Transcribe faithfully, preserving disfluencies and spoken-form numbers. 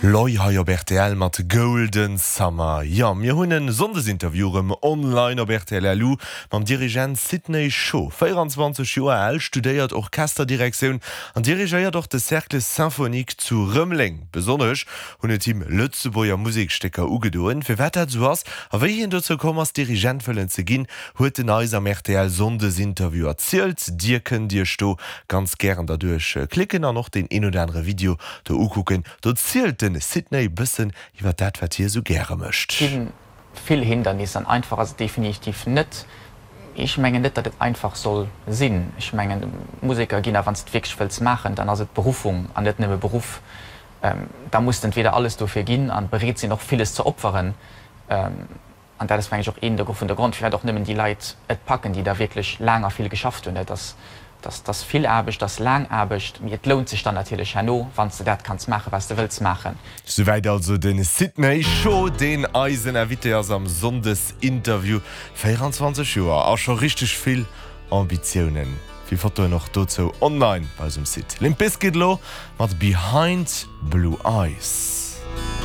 Loi hei op rtl mat Golden Summer. Jo, mir hunn e Sonndesinterview erëm online op rtl LU mam Dirigent Sidney Scho. véierenzwanzeg Joer al, studéiert Orchesterdirektioun an dirigéiert och de Cercle Symphonique zu Rëmeleng. Besonnesch hunn et him Lëtzebuerger Musekstécker ugedoen. Firwat dat esou ass a wéi hien dozou komm ass, Dirigent wëllen ze ginn, huet en eis am rtl Sonndesinterview erzielt. Dir kënnt Iech do ganz gären derduerch klicken an och deen een oder anere Video do ukucken. Do zielt den Sidney bëssen iwwer dat wat hie sou gäre mécht. Ginn vill Hindernisser an einfach ass et definitiv net. Ech mengen net, datt et einfach soll sinn. Ech mengen Museker ginn a wann s de et wierklech wëlls maachen, dann ass et Beruffung an net nëmme Beruff. Da muss de entweder alles dofir ginn an bereet sinn och villes ze opferen. An dat ass mengen ech och een vun de Grond, firwat och nëmmen déi Leit et packen, déi da wierklech laang a vill geschafft hunn. Et ass Dat ass vill Aarbecht, dat ass laang Aarbecht, mee et lount sech dann natierlech herno, wann s de dat kanns maachen, wat s de wëlls maachen. Souwäit also de Sidney Scho, deen eisen Invité ass am Sonndesinterview. véierenzwanzeg Joer a scho richteg vill Ambitiounen. Vill Fotoen och dozou online bei eis um Site. Limp Bizkit elo mat Behind Blue Eyes.